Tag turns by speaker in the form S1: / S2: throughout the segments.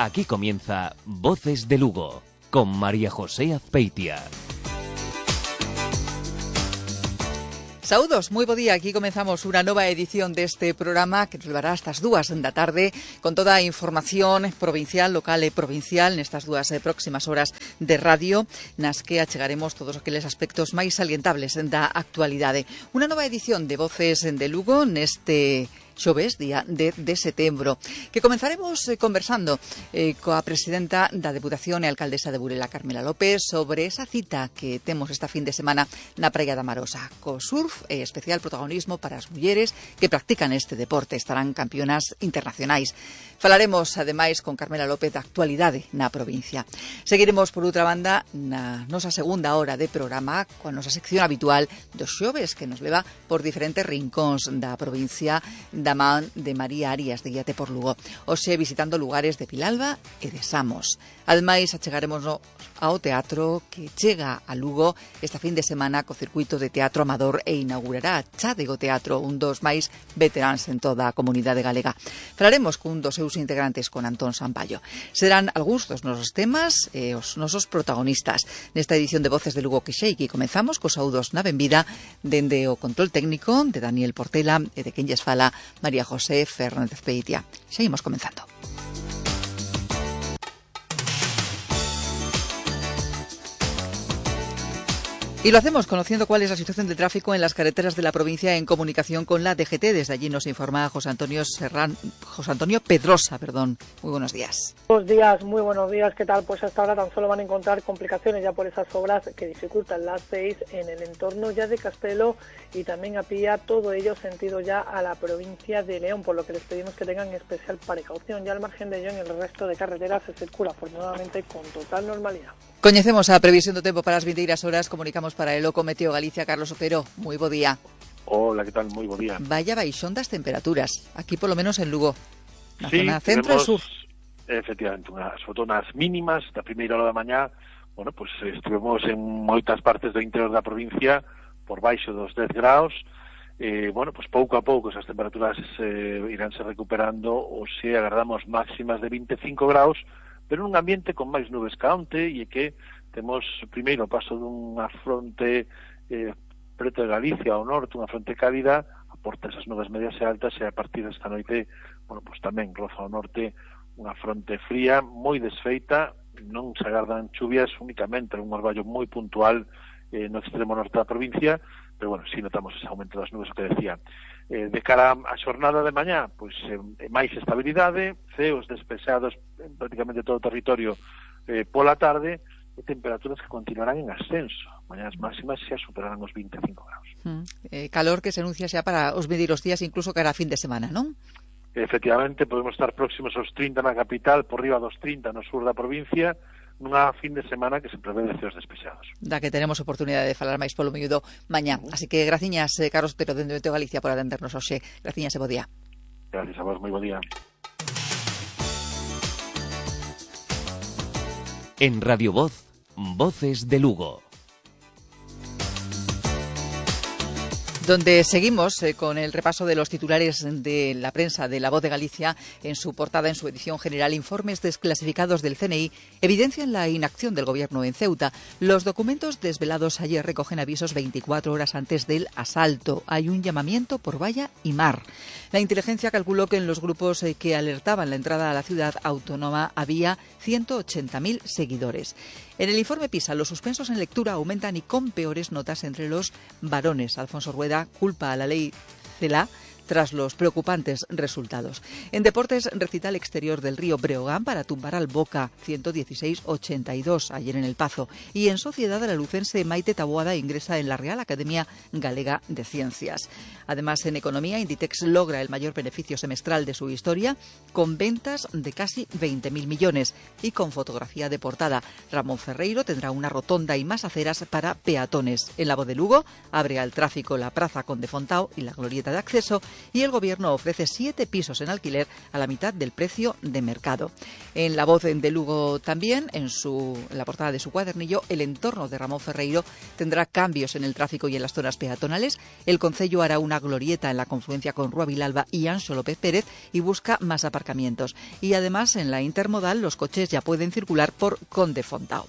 S1: Aquí comienza Voces de Lugo, con María José Azpeitia.
S2: Saúdos, moi bo día. Aquí comenzamos unha nova edición deste programa que nos levará hasta as 2 da tarde con toda a información provincial, local e provincial nestas 2 próximas horas de radio nas que achegaremos todos aqueles aspectos máis salientables da actualidade. Unha nova edición de Voces de Lugo neste xoves, día 10 de setembro, que comenzaremos conversando coa presidenta da Deputación e alcaldesa de Burela, Carmela López, sobre esa cita que temos esta fin de semana na Praia da Marosa, co surf e especial protagonismo para as mulleres que practican este deporte, estarán campeonas internacionais. Falaremos, ademais, con Carmela López da actualidade na provincia. Seguiremos, por outra banda, na nosa segunda hora de programa, coa nosa sección habitual dos xoves, que nos leva por diferentes rincóns da provincia da man de María Arias, de Guíate por Lugo. Hoxe visitando lugares de Vilalba e de Samos. Ademais, achegaremos ao teatro que chega a Lugo esta fin de semana co circuito de teatro amador e inaugurará Chádego Teatro, un dos máis veteráns en toda a comunidade galega. Falaremos cun dos seus integrantes, con Antón Sampaio. Serán algúns dos nosos temas e os nosos protagonistas nesta edición de Voces de Lugo que xa aquí comenzamos cos saúdos na benvida dende o control técnico de Daniel Portela e de quen lles fala María José Fernández Peitia. Xa imos comenzando. Y lo hacemos conociendo cuál es la situación del tráfico en las carreteras de la provincia en comunicación con la DGT. Desde allí nos informa José Antonio Pedrosa. Muy buenos días.
S3: Buenos días, muy buenos días. ¿Qué tal? Pues hasta ahora tan solo van a encontrar complicaciones ya por esas obras que dificultan las 6 en el entorno ya de Castelo y también a Pía, todo ello sentido ya a la provincia de León, por lo que les pedimos que tengan especial precaución. Ya al margen de ello, en el resto de carreteras se circula afortunadamente con total normalidad.
S2: Coñecemos a previsión do tempo para as 22 horas, comunicamos para el Oco Meteo Galicia. Carlos Otero, moi bo día.
S4: Hola, que tal? Moi bo día.
S2: Vaya baixón das temperaturas, aquí polo menos en Lugo, na
S4: sí,
S2: zona centro e sur.
S4: Efectivamente, sobre todo nas mínimas da primeira hora da mañá, pues estivemos en moitas partes do interior da provincia por baixo dos 10 graus. Pues pouco a pouco esas temperaturas iránse recuperando, ou se agardamos máximas de 25 graus, pero nun ambiente con máis nubes ca onte, e que temos primeiro o paso dunha fronte preto de Galicia ao norte, unha fronte cálida, aporta esas nubes medias e altas, e a partir desta noite, pues tamén roza ao norte unha fronte fría, moi desfeita, non se agardan chuvias, únicamente un orballo moi puntual no extremo norte da provincia, pero si notamos ese aumento das nubes, o que decía. De cara á xornada de mañá, pois máis estabilidade, ceos despexados en prácticamente todo o territorio pola tarde, e temperaturas que continuarán en ascenso. Mañás máximas xa superarán os 25 graus.
S2: Calor que se anuncia xa para os mediros días, incluso cara a fin de semana, non?
S4: Efectivamente, podemos estar próximos aos 30 na capital, por riba dos 30 no sur da provincia, nunha fin de semana que se prevé de ceos despexados.
S2: Da que teremos oportunidade de falar máis polo miúdo mañá. Así que graciñas, Carlos Otero, dende Meteo Galicia, por atendernos hoxe. Graciñas e bo día.
S4: Gracias a vos, moi bo día.
S1: En Radio Voz, Voces de Lugo.
S2: Donde seguimos con el repaso de los titulares de la prensa de La Voz de Galicia. En su portada, en su edición general, informes desclasificados del CNI evidencian la inacción del gobierno en Ceuta. Los documentos desvelados ayer recogen avisos 24 horas antes del asalto. Hay un llamamiento por valla y mar. La inteligencia calculó que en los grupos que alertaban la entrada a la ciudad autónoma había 180.000 seguidores. En el informe PISA, los suspensos en lectura aumentan y con peores notas entre los varones. Alfonso Rueda culpa a la ley CELA tras los preocupantes resultados. En deportes, recital exterior del Río Breogán para tumbar al Boca, 116-82 ayer en El Pazo. Y en sociedad, la lucense Maite Taboada ingresa en la Real Academia Galega de Ciencias. Además, en economía, Inditex logra el mayor beneficio semestral de su historia, con ventas de casi 20.000 millones. Y con fotografía de portada, Ramón Ferreiro tendrá una rotonda y más aceras para peatones. En La Voz de Lugo abre al tráfico la Praza Conde Fontao y la glorieta de acceso, y el Gobierno ofrece 7 pisos en alquiler a la mitad del precio de mercado. En La Voz de Lugo también, en la portada de su cuadernillo, el entorno de Ramón Ferreiro tendrá cambios en el tráfico y en las zonas peatonales. El concello hará una glorieta en la confluencia con Rúa Vilalba y Anxo López Pérez y busca más aparcamientos. Y además, en la intermodal, los coches ya pueden circular por Conde Fontao.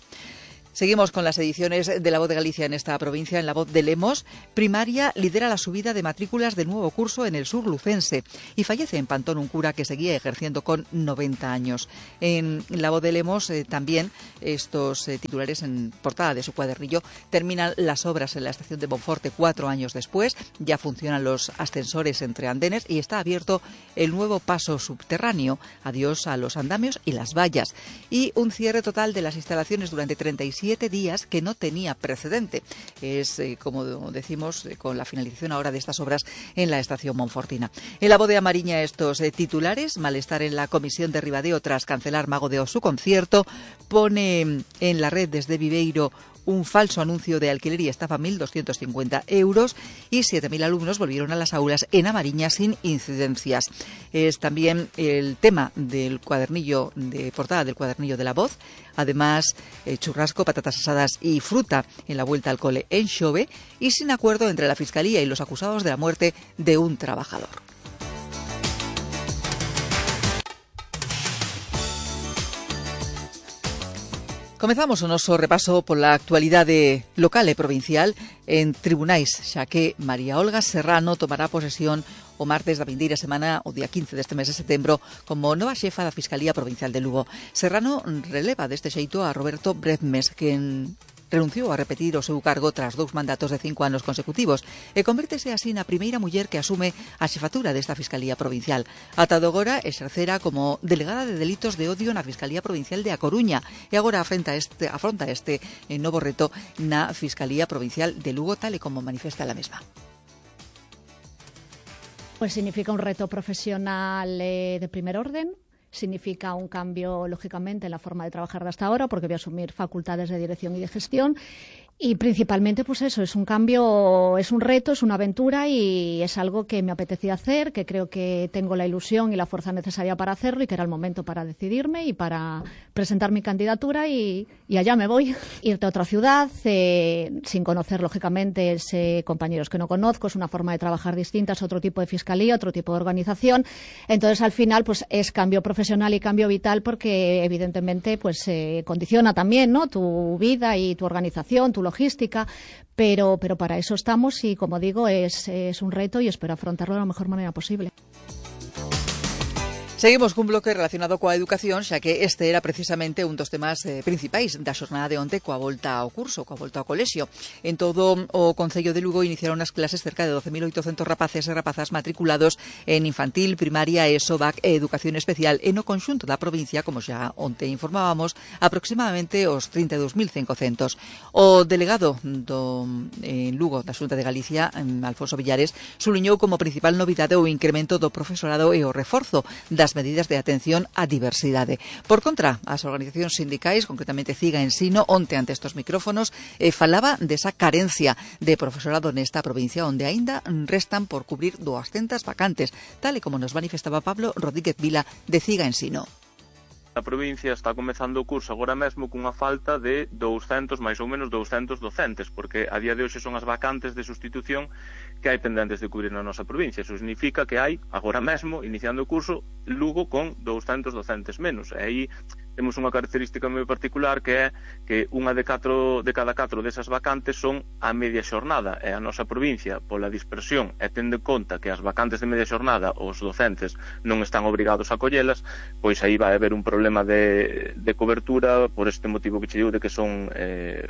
S2: Seguimos con las ediciones de La Voz de Galicia en esta provincia. En La Voz de Lemos, primaria lidera la subida de matrículas del nuevo curso en el sur lucense y fallece en Pantón un cura que seguía ejerciendo con 90 años. En La Voz de Lemos también estos titulares en portada de su cuadernillo: terminan las obras en la estación de Monforte 4 años después, ya funcionan los ascensores entre andenes y está abierto el nuevo paso subterráneo. Adiós a los andamios y las vallas. Y un cierre total de las instalaciones durante 37 días que no tenía precedente. Es, como decimos, con la finalización ahora de estas obras en la estación monfortina. En La Voz de Amariña, estos titulares: malestar en la comisión de Ribadeo tras cancelar Mago de Oz su concierto, pone en la red desde Viveiro un falso anuncio de alquiler y estafa 1.250 euros y 7.000 alumnos volvieron a las aulas en Amariña sin incidencias. Es también el tema del cuadernillo, de portada del cuadernillo de La Voz. Además, churrasco, patatas asadas y fruta en la vuelta al cole en Xove y sin acuerdo entre la Fiscalía y los acusados de la muerte de un trabajador. Comezamos o noso repaso pola actualidade local e provincial en tribunais, xa que María Olga Serrano tomará posesión o martes da vindeira semana, o día 15 deste mes de setembro, como nova xefa da Fiscalía Provincial de Lugo. Serrano releva deste xeito a Roberto Bredmes, quen renunciou a repetir o seu cargo tras 2 mandatos de 5 anos consecutivos e convértese así na primeira muller que asume a xefatura desta Fiscalía Provincial. Ata agora exercera como delegada de delitos de odio na Fiscalía Provincial de A Coruña e agora afronta este novo reto na Fiscalía Provincial de Lugo, tal e como manifesta la mesma.
S5: Pues significa un reto profesional de primer orden. Significa un cambio, lógicamente, en la forma de trabajar de hasta ahora, porque voy a asumir facultades de dirección y de gestión. Y principalmente, pues eso, es un cambio, es un reto, es una aventura y es algo que me apetecía hacer, que creo que tengo la ilusión y la fuerza necesaria para hacerlo y que era el momento para decidirme y para presentar mi candidatura y allá me voy. Irte a otra ciudad, sin conocer, lógicamente, compañeros que no conozco, es una forma de trabajar distinta, es otro tipo de fiscalía, otro tipo de organización. Entonces, al final, pues es cambio profesional y cambio vital porque, evidentemente, pues condiciona también, ¿no?, tu vida y tu organización, tu logística, pero para eso estamos y, como digo, es un reto y espero afrontarlo de la mejor manera posible.
S2: Seguimos cun bloque relacionado coa educación, xa que este era precisamente un dos temas principais da xornada de onte coa volta ao curso, coa volta ao colexio. En todo o Concello de Lugo iniciaron as clases cerca de 12.800 rapaces e rapazas matriculados en infantil, primaria, ESO, BAC e educación especial. E no conxunto da provincia, como xa onte informábamos, aproximadamente os 32.500. O delegado en Lugo da Xunta de Galicia, Alfonso Villares, suliñou como principal novidade o incremento do profesorado e o reforzo das medidas de atención á diversidade. Por contra, as organizacións sindicais, concretamente CIGA Ensino, onte ante estes micrófonos, falaba desa carencia de profesorado nesta provincia, onde aínda restan por cubrir 200 vacantes, tal e como nos manifestaba Pablo Rodríguez Vila de CIGA Ensino.
S6: A provincia está comezando o curso agora mesmo cunha falta de 200, máis ou menos 200 docentes, porque a día de hoxe son as vacantes de sustitución que hai pendentes de cubrir na nosa provincia. Eso significa que hai, agora mesmo, iniciando o curso, Lugo con 200 docentes menos. E aí temos unha característica moi particular que é que unha de cada 4 desas vacantes son a media xornada, e a nosa provincia, pola dispersión e tendo en conta que as vacantes de media xornada os docentes non están obrigados a collelas, pois aí vai haber un problema de cobertura por este motivo que che digo de que son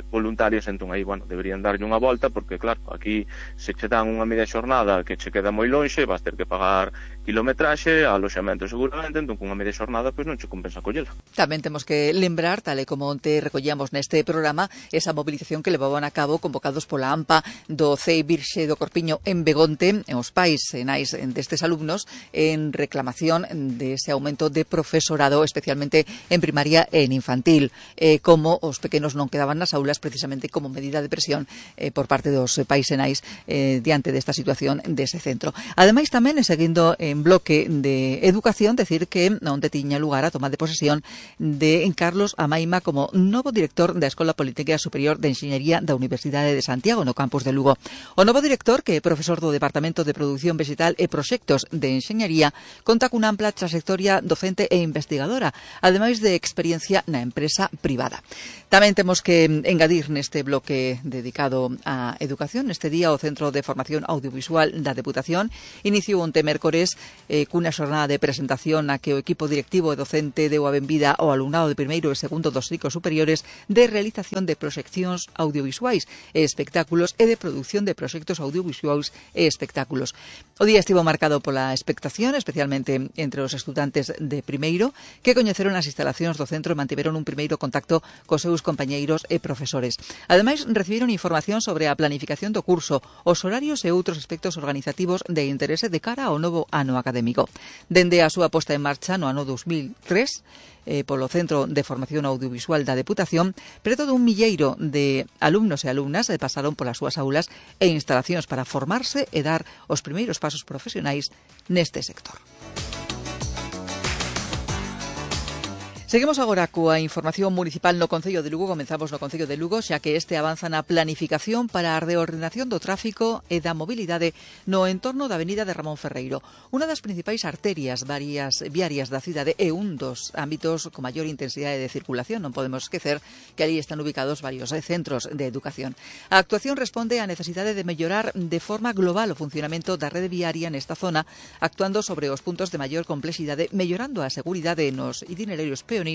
S6: voluntarios. Entón aí, bueno, deberían darlle unha volta porque, claro, aquí se che dan unha media xornada que che queda moi lonxe, vas ter que pagar kilometraxe, aloxamento seguramente, entón cunha media xornada pois non che compensa collela.
S2: Tamén temos que lembrar, tal e como onte recollamos neste programa, esa movilización que levaban a cabo convocados pola AMPA do CEI Virxe do Corpiño en Begonte, en os pais e nais destes alumnos, en reclamación de ese aumento de profesorado, especialmente en primaria e en infantil, como os pequenos non quedaban nas aulas precisamente como medida de presión por parte dos pais e nais diante desta situación dese centro. Ademais tamén, seguindo en bloque de educación, decir que onde tiña lugar a toma de posesión de Carlos Amaima como novo director da Escola Politécnica Superior de Enxeñería da Universidade de Santiago no campus de Lugo. O novo director, que é profesor do Departamento de Produción Vegetal e Proxectos de Enxeñería, conta cunha ampla trayectoria docente e investigadora, ademais de experiencia na empresa privada. Tamén temos que engadir neste bloque dedicado á educación. Neste día o Centro de Formación Audiovisual da Deputación iniciou onte mércores cunha xornada de presentación na que o equipo directivo e docente deu a benvida ao alumnado de primeiro e segundo dos ciclos superiores de realización de proxeccións audiovisuais e espectáculos e de produción de proxectos audiovisuais e espectáculos. O día estivo marcado pola expectación, especialmente entre os estudantes de primeiro, que coñeceron as instalacións do centro e mantiveron un primeiro contacto cos seus compañeiros e profesores. Ademais, recibiron información sobre a planificación do curso, os horarios e outros aspectos organizativos de interese de cara ao novo ano académico. Dende a súa posta en marcha no ano 2003, polo Centro de Formación Audiovisual da Deputación, preto dun milleiro de alumnos e alumnas pasaron polas súas aulas e instalacións para formarse e dar os primeiros pasos profesionais neste sector. Seguimos agora coa información municipal no Concello de Lugo. Comenzamos no Concello de Lugo, xa que este avanza na planificación para a reordenación do tráfico e da mobilidade no entorno da avenida de Ramón Ferreiro, unha das principais arterias viarias da cidade e un dos ámbitos con maior intensidade de circulación. Non podemos esquecer que ali están ubicados varios centros de educación. A actuación responde á necesidade de mellorar de forma global o funcionamento da rede viaria nesta zona, actuando sobre os puntos de maior complexidade, mellorando a seguridade nos itinerarios peonís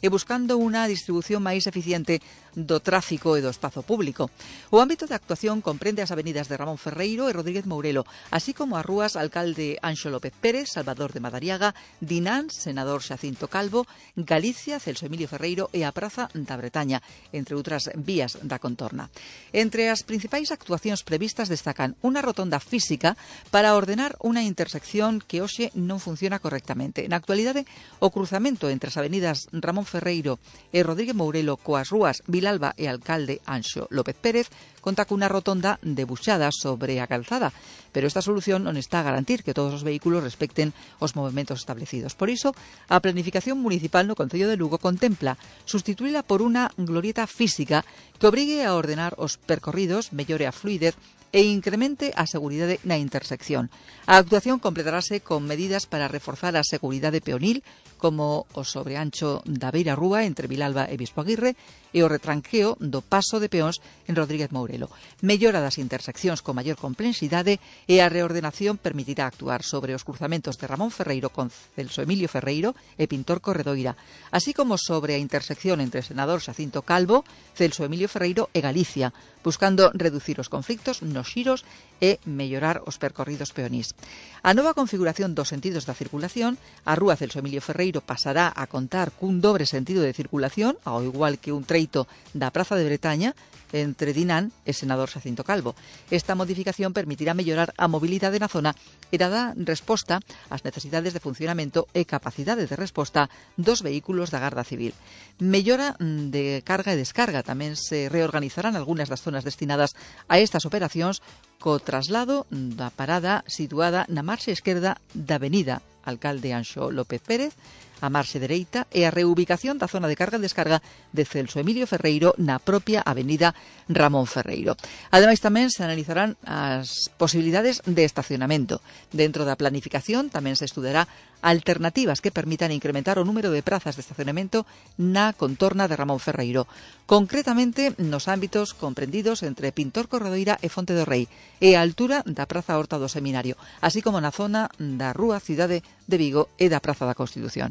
S2: e buscando unha distribución máis eficiente do tráfico e do espazo público. O ámbito de actuación comprende as avenidas de Ramón Ferreiro e Rodríguez Mourelo, así como as rúas Alcalde Anxo López Pérez, Salvador de Madariaga, Dinán, Senador Xacinto Calvo, Galicia, Celso Emilio Ferreiro e a Praza da Bretaña, entre outras vías da contorna. Entre as principais actuacións previstas destacan unha rotonda física para ordenar unha intersección que hoxe non funciona correctamente. Na actualidade, o cruzamento entre as avenidas Ramón Ferreiro e Rodríguez Mourelo coas rúas Vilalba e Alcalde Anxo López Pérez conta cunha rotonda debuxada sobre a calzada, pero esta solución non está a garantir que todos os vehículos respecten os movementos establecidos. Por iso, a planificación municipal no Concello de Lugo contempla sustituíla por unha glorieta física que obrigue a ordenar os percorridos, mellore a fluidez e incremente a seguridade na intersección. A actuación completarase con medidas para reforzar a seguridade peonil, como o sobreancho da Beira Rúa entre Vilalba e Bispo Aguirre e o retranqueo do paso de peóns en Rodríguez Mourelo. Mellora das interseccións con maior complexidade e a reordenación permitirá actuar sobre os cruzamentos de Ramón Ferreiro con Celso Emilio Ferreiro e Pintor Corredoira, así como sobre a intersección entre Senador Xacinto Calvo, Celso Emilio Ferreiro e Galicia, buscando reducir os conflictos nos xiros e mellorar os percorridos peonís. A nova configuración dos sentidos da circulación, a rúa Celso Emilio Ferreiro pasará a contar cun dobre sentido de circulación, ao igual que un treito da Praza de Bretaña, entre Dinán e Senador Xacinto Calvo. Esta modificación permitirá mellorar a mobilidade na zona e dará resposta ás necesidades de funcionamento e capacidade de resposta dos vehículos da Garda Civil. Mellora de carga e descarga. Tamén se reorganizarán algunhas das zonas destinadas a estas operacións co traslado da parada situada na marxe esquerda da avenida Alcalde Anxo López Pérez, a marxe dereita, e a reubicación da zona de carga e descarga de Celso Emilio Ferreiro na propia avenida Ramón Ferreiro. Ademais, tamén se analizarán as posibilidades de estacionamento. Dentro da planificación tamén se estudará alternativas que permitan incrementar o número de prazas de estacionamento na contorna de Ramón Ferreiro, concretamente nos ámbitos comprendidos entre Pintor Corredoira e Fonte do Rei e a altura da Praza Horta do Seminario, así como na zona da Rúa Cidade de Vigo e da Praza da Constitución.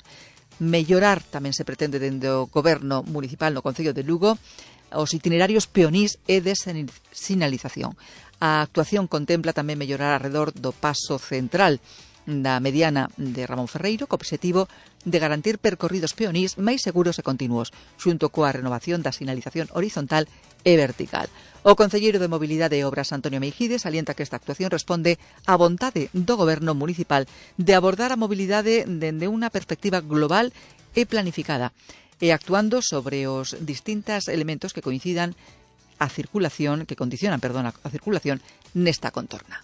S2: Mellorar tamén se pretende dende o Goberno Municipal no Concello de Lugo os itinerarios peonís e de sinalización. A actuación contempla tamén mellorar alrededor do paso central da mediana de Ramón Ferreiro, co obxectivo de garantir percorridos peonís máis seguros e continuos, xunto coa renovación da sinalización horizontal e vertical. O concelleiro de Mobilidade e Obras, Antonio Meijides, alienta que esta actuación responde á vontade do Goberno municipal de abordar a mobilidade dende unha perspectiva global e planificada, e actuando sobre os distintos elementos que condicionan a circulación nesta contorna.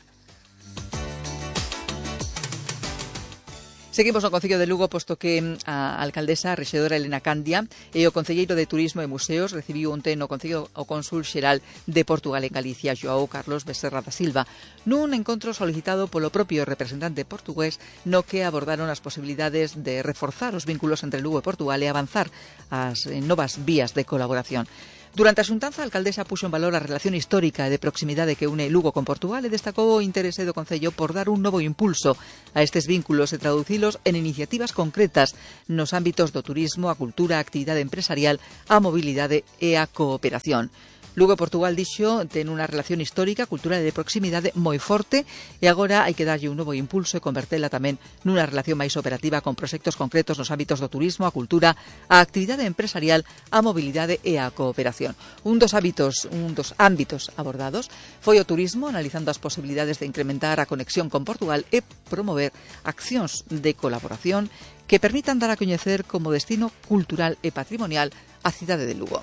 S2: Seguimos no Concello de Lugo, posto que a alcaldesa, a rexedora Elena Candia e o concelleiro de Turismo e Museos recibiu onte no Concello o cónsul xeral de Portugal en Galicia, João Carlos Becerra da Silva, nun encontro solicitado polo propio representante portugués, no que abordaron as posibilidades de reforzar os vínculos entre Lugo e Portugal e avanzar as novas vías de colaboración. Durante a xuntanza, a alcaldesa puxo en valor a relación histórica e de proximidade que une Lugo con Portugal e destacou o interese do Concello por dar un novo impulso a estes vínculos e traducilos en iniciativas concretas nos ámbitos do turismo, a cultura, a actividade empresarial, a mobilidade e a cooperación. Lugo e Portugal, dixo, ten unha relación histórica, cultural e de proximidade moi forte e agora hai que darlle un novo impulso e convertela tamén nunha relación máis operativa con proxectos concretos nos ámbitos do turismo, a cultura, a actividade empresarial, a mobilidade e a cooperación. Un dos ámbitos abordados foi o turismo, analizando as posibilidades de incrementar a conexión con Portugal e promover accións de colaboración que permitan dar a coñecer como destino cultural e patrimonial a cidade de Lugo.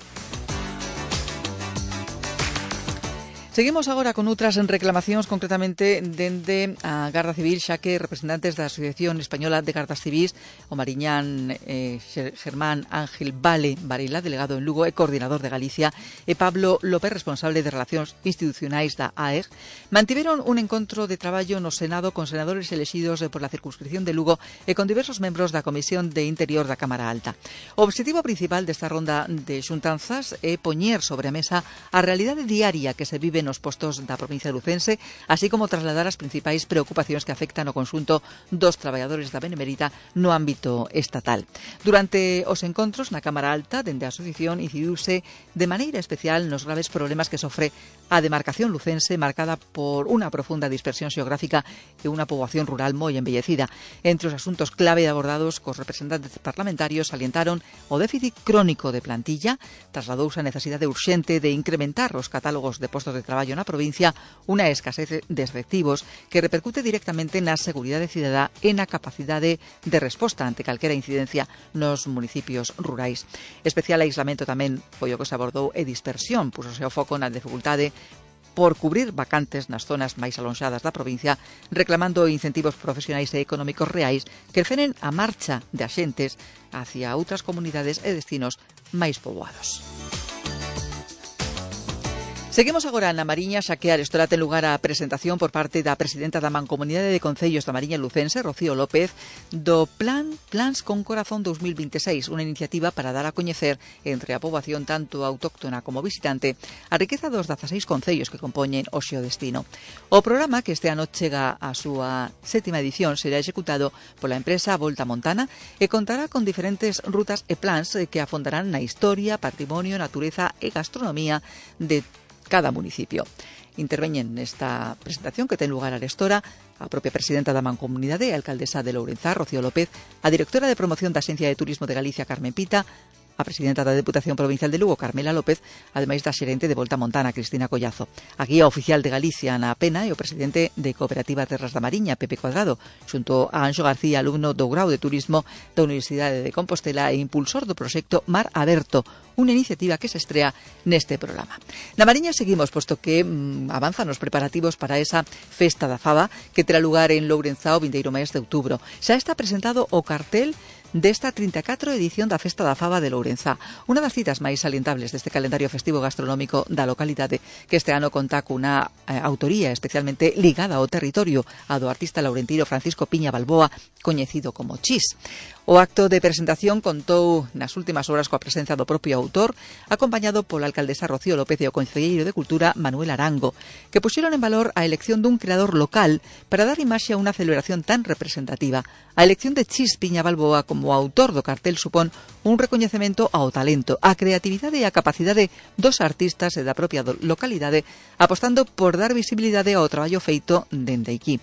S2: Seguimos agora con outras reclamacións, concretamente dende a Garda Civil, xa que representantes da Asociación Española de Gardas Civís, o mariñán Germán Ángel Vale Varela, delegado en Lugo e coordinador de Galicia, e Pablo López, responsable de Relacións Institucionais da AEG, mantiveron un encontro de traballo no Senado con senadores elexidos por la circunscripción de Lugo e con diversos membros da Comisión de Interior da Cámara Alta. O obxectivo principal desta ronda de xuntanzas é poñer sobre a mesa a realidade diaria que se vive nos postos da provincia lucense, así como trasladar as principais preocupacións que afectan o conxunto dos traballadores da Benemérita no ámbito estatal. Durante os encontros na Cámara Alta, dende a asociación, incidiuse de maneira especial nos graves problemas que sofre a demarcación lucense, marcada por unha profunda dispersión xeográfica e unha poboación rural moi embellecida. Entre os asuntos clave abordados cos representantes parlamentarios salientaron o déficit crónico de plantilla, trasladouse a necesidade urxente de incrementar os catálogos de postos de traballo na provincia, unha escasez de efectivos que repercute directamente na seguridade cidadá e na capacidade de resposta ante calquera incidencia nos municipios rurais. Especial aislamento tamén foi o que se abordou e dispersión, pusose o foco na dificultade por cubrir vacantes nas zonas máis alonxadas da provincia, reclamando incentivos profesionais e económicos reais que frenen a marcha de axentes hacia outras comunidades e destinos máis poboados. Seguimos agora na Mariña, xa que arestora ten lugar a presentación por parte da presidenta da Mancomunidade de Concellos da Mariña Lucense, Rocío López, do Plans con Corazón 2026, unha iniciativa para dar a coñecer entre a poboación tanto autóctona como visitante a riqueza dos 16 concellos que compoñen o xeodestino. O programa, que este ano chega á súa 7ª edición, será executado pola empresa Volta Montana e contará con diferentes rutas e plans que afondarán na historia, patrimonio, natureza e gastronomía de cada municipio. Interveñen nesta presentación que ten lugar arestora a propia presidenta da Mancomunidade e alcaldesa de Lourenzá, Rocío López, a directora de promoción da Axencia de Turismo de Galicia, Carmen Pita, a presidenta da Deputación Provincial de Lugo, Carmela López, ademais da xerente de Volta Montana, Cristina Collazo. A guía oficial de Galicia, Ana Pena, e o presidente de Cooperativa Terras da Mariña, Pepe Cuadrado, xunto a Anxo García, alumno do grau de Turismo da Universidade de Compostela e impulsor do proxecto Mar Aberto, unha iniciativa que se estrea neste programa. Na Mariña seguimos, posto que avanzan os preparativos para esa Festa da Faba que terá lugar en Lourenzá o 21 mes de outubro. Xa está presentado o cartel desta 34 edición da Festa da Faba de Lourenzá, unha das citas máis salientables deste calendario festivo gastronómico da localidade, que este ano conta cunha autoría especialmente ligada ao territorio, a do artista laurentino Francisco Piña Balboa, coñecido como Chis. O acto de presentación contou nas últimas horas coa presenza do propio autor, acompañado pola alcaldesa Rocío López e o concelleiro de Cultura Manuel Arango, que puxeron en valor a elección dun creador local para dar imaxe a unha celebración tan representativa. A elección de Chis Piña Balboa como autor do cartel supón un recoñecemento ao talento, á creatividade e á capacidade dos artistas e da propia localidade, apostando por dar visibilidade ao traballo feito dende aquí.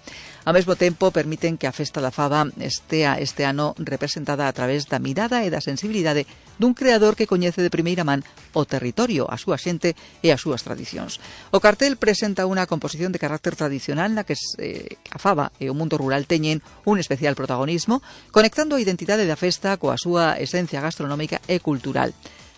S2: Ao mesmo tempo, permiten que a Festa da Faba estea este ano representada a través da mirada e da sensibilidade dun creador que coñece de primeira man o territorio, a súa xente e as súas tradicións. O cartel presenta unha composición de carácter tradicional na que a Faba e o mundo rural teñen un especial protagonismo, conectando a identidade da festa coa súa esencia gastronómica e cultural.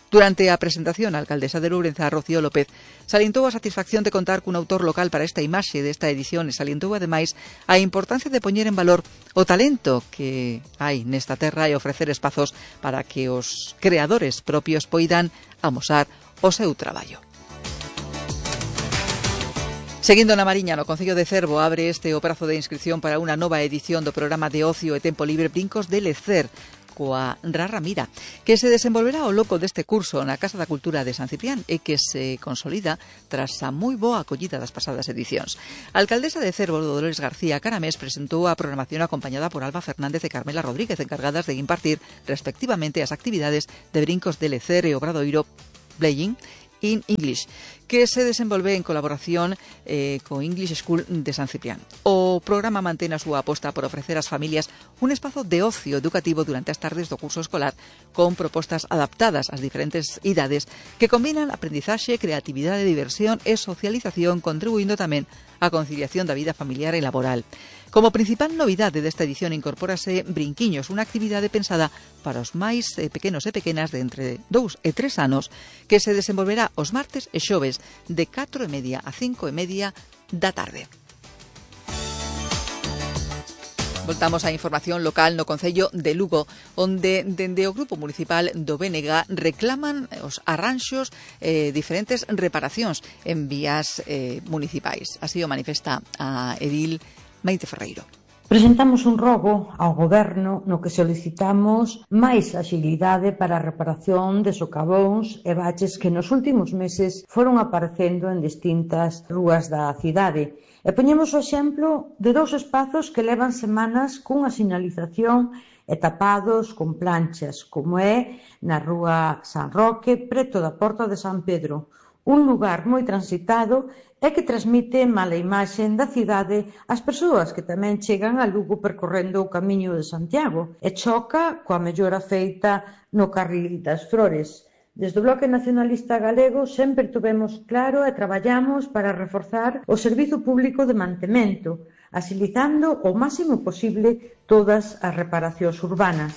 S2: Durante a presentación, a alcaldesa de Lourenza, Rocío López, salientou a satisfacción de contar cun autor local para esta imaxe desta edición e salientou, ademais, a importancia de poñer en valor o talento que hai nesta terra e ofrecer espazos para que os creadores propios poidan amosar o seu traballo. Seguindo na Mariña, no Concello de Cervo, abre este o prazo de inscripción para unha nova edición do programa de ocio e tempo libre Brincos de Lecer, coa Rara Mira, que se desenvolverá ao loco deste curso na Casa da Cultura de San Ciprián e que se consolida tras a moi boa acollida das pasadas edicións. A alcaldesa de Cervo, Dolores García Caramés, presentou a programación acompañada por Alba Fernández e Carmela Rodríguez, encargadas de impartir respectivamente as actividades de Brincos de Lecer e Obradoiro Playing in English, que se desenvolve en colaboración co English School de San Ciprián. O programa mantén a súa aposta por ofrecer ás familias un espazo de ocio educativo durante as tardes do curso escolar con propostas adaptadas ás diferentes idades que combinan aprendizaxe, creatividade, diversión e socialización, contribuindo tamén á conciliación da vida familiar e laboral. Como principal novidade desta edición incorpórase Brinquiños, unha actividade pensada para os máis pequenos e pequenas de entre 2 e 3 anos, que se desenvolverá os martes e xoves de 4:30 a 5:30 da tarde. Voltamos á información local no Concello de Lugo, onde dende o Grupo Municipal do BNG reclaman os arranxos diferentes reparacións en vías municipais. Así o manifesta a edil Maite Ferreiro.
S7: Presentamos un rogo ao Goberno no que solicitamos máis axilidade para a reparación de socavóns e baches que nos últimos meses foron aparecendo en distintas rúas da cidade. E poñemos o exemplo de 2 espazos que levan semanas cunha sinalización e tapados con planchas, como é na rúa San Roque, preto da Porta de San Pedro, un lugar moi transitado e que transmite mala imaxe da cidade ás persoas que tamén chegan a Lugo percorrendo o Camiño de Santiago e choca coa mellora feita no Carril das Flores. Desde o Bloque Nacionalista Galego sempre tuvemos claro e traballamos para reforzar o servizo público de mantemento, axilizando o máximo posible todas as reparacións urbanas.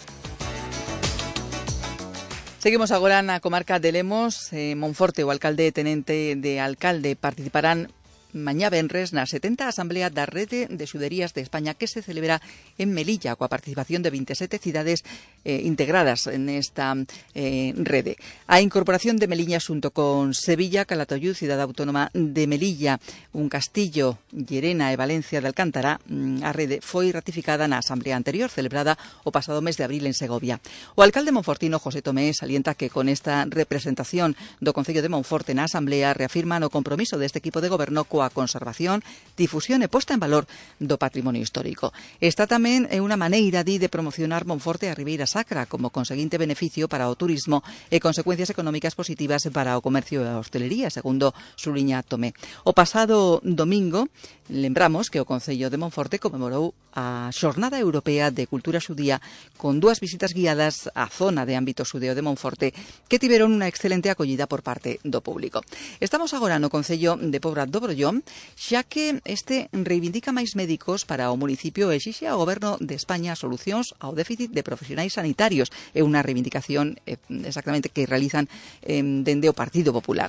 S2: Seguimos agora na comarca de Lemos. Monforte, o alcalde e tenente de alcalde participarán mañá venres na 70 Asamblea da Rede de Xuderías de España que se celebra en Melilla, coa participación de 27 cidades integradas nesta rede. A incorporación de Melilla xunto con Sevilla, Calatayud, Cidade Autónoma de Melilla, un Castillo, Llerena e Valencia de Alcántara, a rede foi ratificada na Asamblea anterior, celebrada o pasado mes de abril en Segovia. O alcalde monfortino José Tomé salienta que con esta representación do Concello de Monforte na Asamblea reafirman o compromiso deste equipo de goberno coa conservación, difusión e posta en valor do patrimonio histórico. Esta tamén é unha maneira de promocionar Monforte e a Ribeira Sacra como conseguinte beneficio para o turismo e consecuencias económicas positivas para o comercio e a hostelería, segundo suliña Tomé. O pasado domingo, lembramos que o Concello de Monforte conmemorou a Xornada Europea de Cultura Xudía con 2 visitas guiadas á zona de ámbito xudeo de Monforte que tiveron unha excelente acollida por parte do público. Estamos agora no Concello de Pobra do Brollón, xa que este reivindica máis médicos para o municipio e exixe ao Goberno de España solucións ao déficit de profesionais sanitarios. É unha reivindicación exactamente que realizan dende o Partido Popular.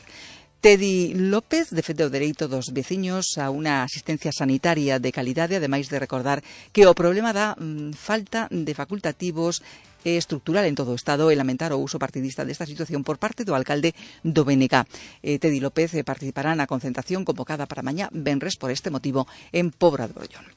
S2: Tedi López defende o dereito dos veciños a unha asistencia sanitaria de calidade, ademais de recordar que o problema da falta de facultativos é estructural en todo o Estado e lamentar o uso partidista desta situación por parte do alcalde do BNG. Tedi López participará na concentración convocada para mañá venres por este motivo en Pobra de Brollón.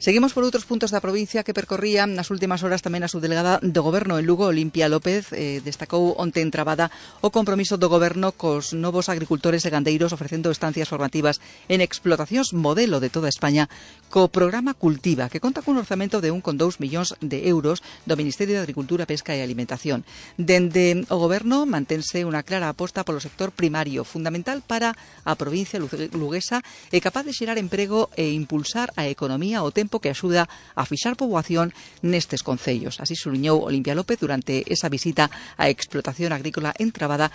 S2: Seguimos por outros puntos da provincia que percorría nas últimas horas tamén a subdelegada do Goberno en Lugo, Olimpia López, destacou onte en Trabada o compromiso do Goberno cos novos agricultores e gandeiros ofrecendo estancias formativas en explotacións modelo de toda España co programa Cultiva, que conta cun orzamento de 1,2 millóns de euros do Ministerio de Agricultura, Pesca e Alimentación. Dende o Goberno mantense unha clara aposta polo sector primario, fundamental para a provincia luguesa e capaz de xerar emprego e impulsar a economía ao tempo que axuda a fixar poboación nestes concellos. Así suliñou Olimpia López durante esa visita á explotación agrícola en Trabada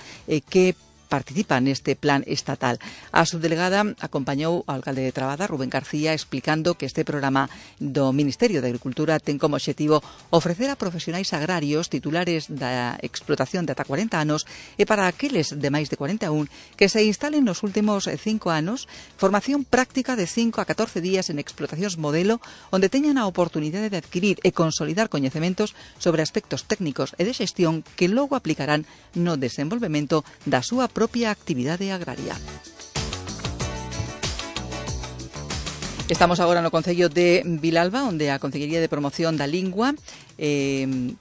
S2: que participa neste plan estatal. A subdelegada acompañou ao alcalde de Trabada, Rubén García, explicando que este programa do Ministerio de Agricultura ten como obxectivo ofrecer a profesionais agrarios titulares da explotación de ata 40 anos e para aqueles de máis de 41 que se instalen nos últimos 5 anos formación práctica de 5 a 14 días en explotacións modelo onde teñan a oportunidade de adquirir e consolidar coñecementos sobre aspectos técnicos e de xestión que logo aplicarán no desenvolvemento da súa propia actividade agraria. Estamos agora no Concello de Vilalba, onde a Concellería de Promoción da Lingua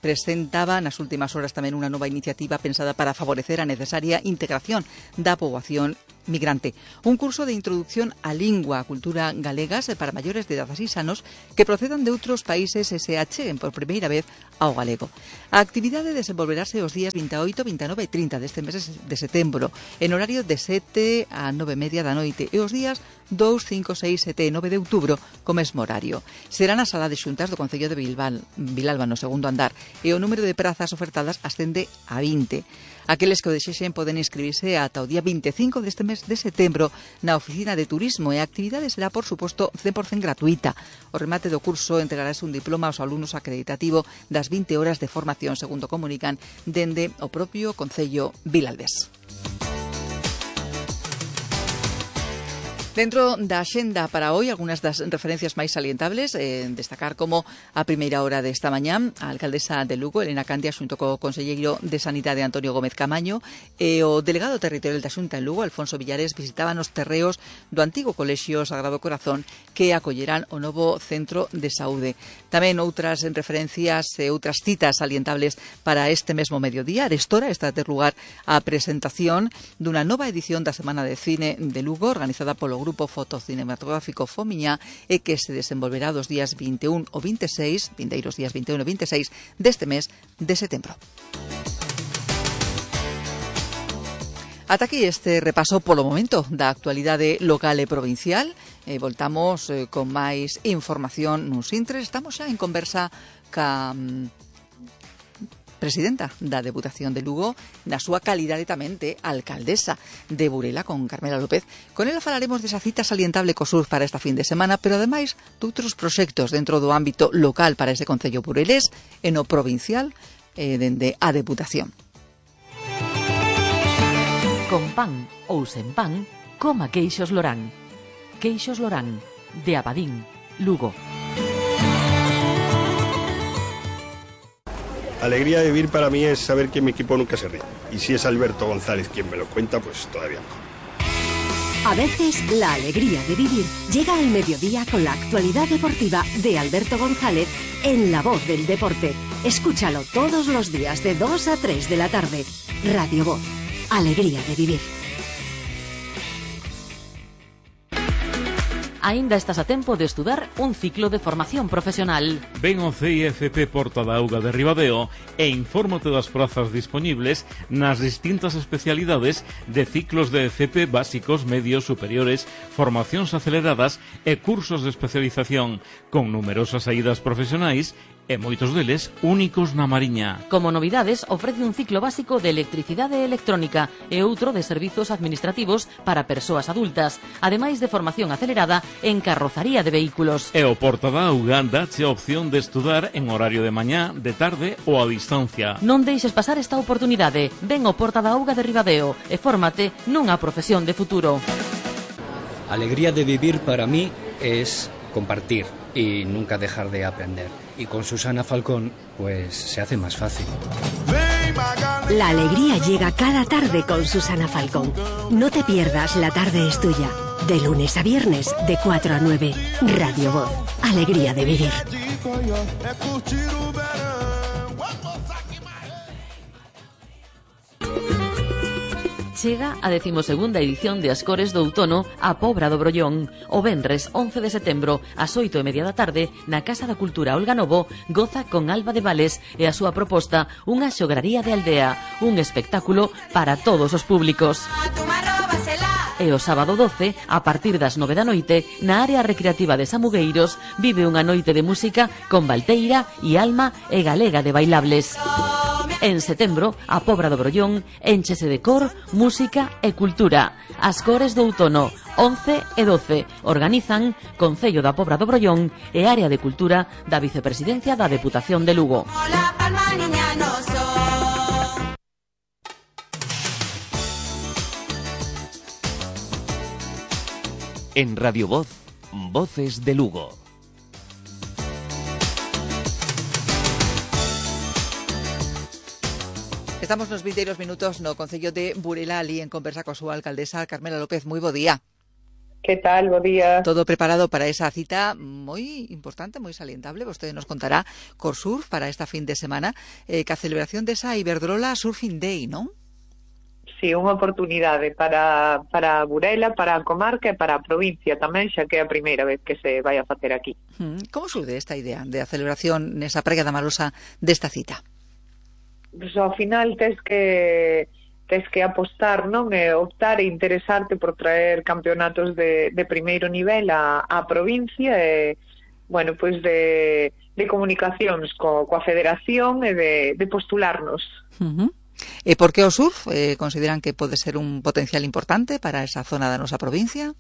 S2: presentaba nas últimas horas tamén unha nova iniciativa pensada para favorecer a necesaria integración da poboación migrante. Un curso de introducción á lingua e cultura galegas para maiores de 16 anos que procedan de outros países e se acheguen por primeira vez ao galego. A actividade desenvolverase os días 28, 29 e 30 deste mes de setembro, en horario de 7 a 9:30 da noite, e os días 2, 5, 6, 7 e 9 de outubro co mesmo horario. Será na sala de xuntas do Concello de Vilalba, no segundo andar, e o número de prazas ofertadas ascende a 20. Aqueles que o desexen poden inscribirse ata o día 25 deste mes de setembro na Oficina de Turismo e a actividade será, por suposto, 100% gratuita. O remate do curso entregarase un diploma aos alumnos acreditativo das 20 horas de formación, segundo comunican dende o propio Concello vilalbés. Dentro da axenda para hoy, algunhas das referencias máis salientables, destacar como a primeira hora desta mañá, a alcaldesa de Lugo, Elena Candia, xunto co conselleiro de Sanidade, Antonio Gómez Camaño, e o delegado territorial da Xunta en Lugo, Alfonso Villares, visitaban os terreos do antigo Colexio Sagrado Corazón que acollerán o novo centro de saúde. Tamén outras referencias e outras citas salientables para este mesmo mediodía. Arestora está a ter lugar a presentación dunha nova edición da Semana de Cine de Lugo, organizada polo Grupo Fotocinematográfico Fomiñá, e que se desenvolverá dos días 21 ou 26, vindeiros días 21 e 26 deste mes de setembro. Ata aquí este repaso polo momento da actualidade local e provincial. Voltamos con máis información nuns intres. Estamos xa en conversa ca presidenta da Deputación de Lugo na súa calidade tamén de alcaldesa de Burela, con Carmela López. Con ela falaremos desa cita salientable co sur para esta fin de semana, pero ademais de outros proxectos dentro do ámbito local para ese concello burelés e no provincial dende a Deputación.
S8: Con pan ou sen pan, coma queixos Lorán. Queixos Lorán, de Abadín, Lugo.
S9: Alegría de vivir para mí es saber que mi equipo nunca se ríe. Y si es Alberto González quien me lo cuenta, pues todavía mejor.
S10: A veces la alegría de vivir llega al mediodía con la actualidad deportiva de Alberto González en La Voz del Deporte. Escúchalo todos los días de 2 a 3 de la tarde. Radio Voz. Alegría de vivir.
S8: Aínda estás a tempo de estudar un ciclo de formación profesional.
S11: Ven ao CIFP Porta da Auga de Ribadeo e infórmate das prazas dispoñibles nas distintas especialidades de ciclos de FP básicos, medios, superiores, formacións aceleradas e cursos de especialización, con numerosas saídas profesionais e moitos deles únicos na Mariña.
S8: Como novidades, ofrece un ciclo básico de electricidade electrónica e outro de servizos administrativos para persoas adultas, ademais de formación acelerada en carrozaría de vehículos.
S11: E o Porta da Auga dache a opción de estudar en horario de mañá, de tarde ou a distancia.
S8: Non deixes pasar esta oportunidade. Ven ao Porta da Auga de Ribadeo e fórmate nunha profesión de futuro.
S12: Alegría de vivir para mí es compartir y nunca dejar de aprender. Y con Susana Falcón, pues se hace más fácil.
S10: La alegría llega cada tarde con Susana Falcón. No te pierdas La Tarde es Tuya. De lunes a viernes, de 4 a 9. Radio Voz. Alegría de vivir.
S8: Chega a 12ª edición de As Cores do Outono a Pobra do Brollón. O venres 11 de setembro, ás 8:30 da tarde, na Casa da Cultura Olga Novo, goza con Alba de Vales e a súa proposta Unha xograría de aldea, un espectáculo para todos os públicos. E o sábado 12, a partir das 9 da noite, na área recreativa de Samugueiros, vive unha noite de música con Valteira e Alma e Galega de Bailables. En setembro, a Pobra do Brollón énchese de cor, música e cultura. As Cores do Outono, 11 e 12, organizan Concello da Pobra do Brollón e Área de Cultura da Vicepresidencia da Deputación de Lugo.
S1: En Radio Voz, Voces de Lugo.
S2: Estamos nos vindeiros minutos no Concello de Burela, ali en conversa coa súa alcaldesa Carmela López. Moi bo día.
S13: Que tal? Bo día.
S2: Todo preparado para esa cita moi importante, moi salientable. Vostede nos contará Corsurf para esta fin de semana, que a celebración desa Iberdrola Surfing Day, non?
S13: Sí, unha oportunidade para Burela, para a comarca e para a provincia tamén, xa que é a primeira vez que se vai a facer aquí.
S2: Como surde esta idea de a celebración nesa praia da Marosa desta cita?
S13: Pues, ao final tes que apostar, non? E optar e interesarte por traer campeonatos de primeiro nivel á provincia e, bueno, pois de comunicacións coa federación e de postularnos.
S2: E por que o surf consideran que pode ser un potencial importante para esa zona da nosa provincia?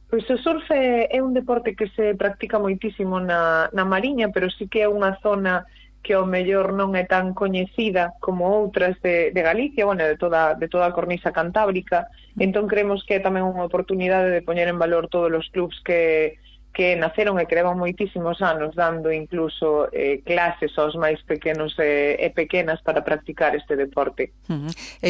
S13: Pois o surf é un deporte que se practica moitísimo na Mariña, pero sí que é unha zona que ao mellor non é tan coñecida como outras de Galicia, bueno, de toda a cornisa cantábrica. Entón creemos que é tamén unha oportunidade de poñer en valor todos os clubs que naceron e que levan moitísimos anos dando incluso clases aos máis pequenos e pequenas para practicar este deporte.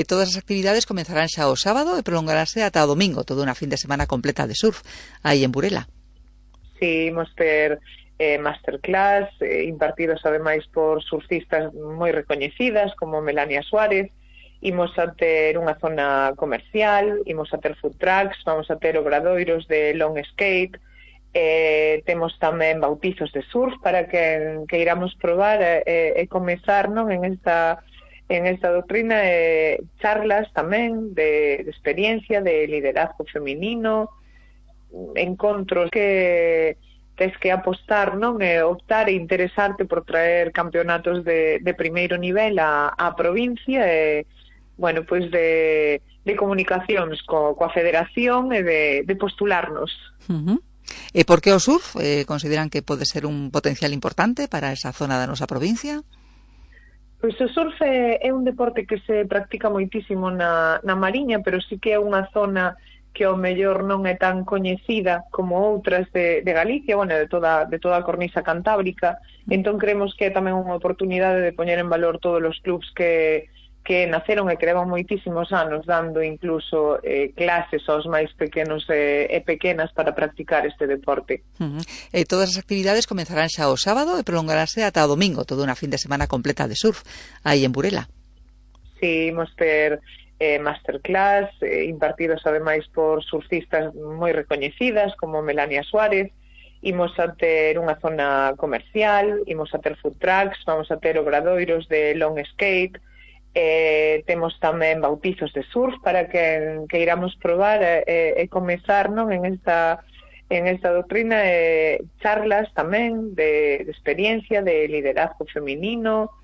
S2: Todas as actividades comenzarán xa o sábado e prolongarase ata o domingo, toda unha fin de semana completa de surf aí en Burela.
S13: Sí, imos ter masterclass impartidos ademais por surfistas moi recoñecidas como Melania Suárez. Imos a ter unha zona comercial, imos a ter food trucks, vamos a ter obradoiros de long skate, temos tamén bautizos de surf para que iramos probar e comezar, non, en esta doutrina, charlas tamén de experiencia, de liderazgo feminino, encontros que tes que apostar, non, e optar e interesarte por traer campeonatos de primeiro nivel á provincia e, bueno, pois de comunicacións coa federación e de postularnos.
S2: E por que o surf consideran que pode ser un potencial importante para esa zona da nosa provincia?
S13: Pois o surf é un deporte que se practica moitísimo na Mariña, pero sí que é unha zona que ao mellor non é tan coñecida como outras de Galicia, bueno, de toda a cornisa cantábrica. Entón creemos que é tamén unha oportunidade de poñer en valor todos os clubs que naceron e que levan moitísimos anos dando incluso clases aos máis pequenos e pequenas para practicar este deporte.
S2: Todas as actividades comenzarán xa o sábado e prolongarase ata o domingo, toda unha fin de semana completa de surf aí en Burela.
S13: Sí, imos ter masterclass impartidos ademais por surfistas moi recoñecidas como Melania Suárez. Imos a ter unha zona comercial, imos a ter food trucks, vamos a ter obradoiros de long skate, temos tamén bautizos de surf para que iramos probar e comezar, non, en esta doutrina, charlas tamén de experiencia, de liderazgo feminino,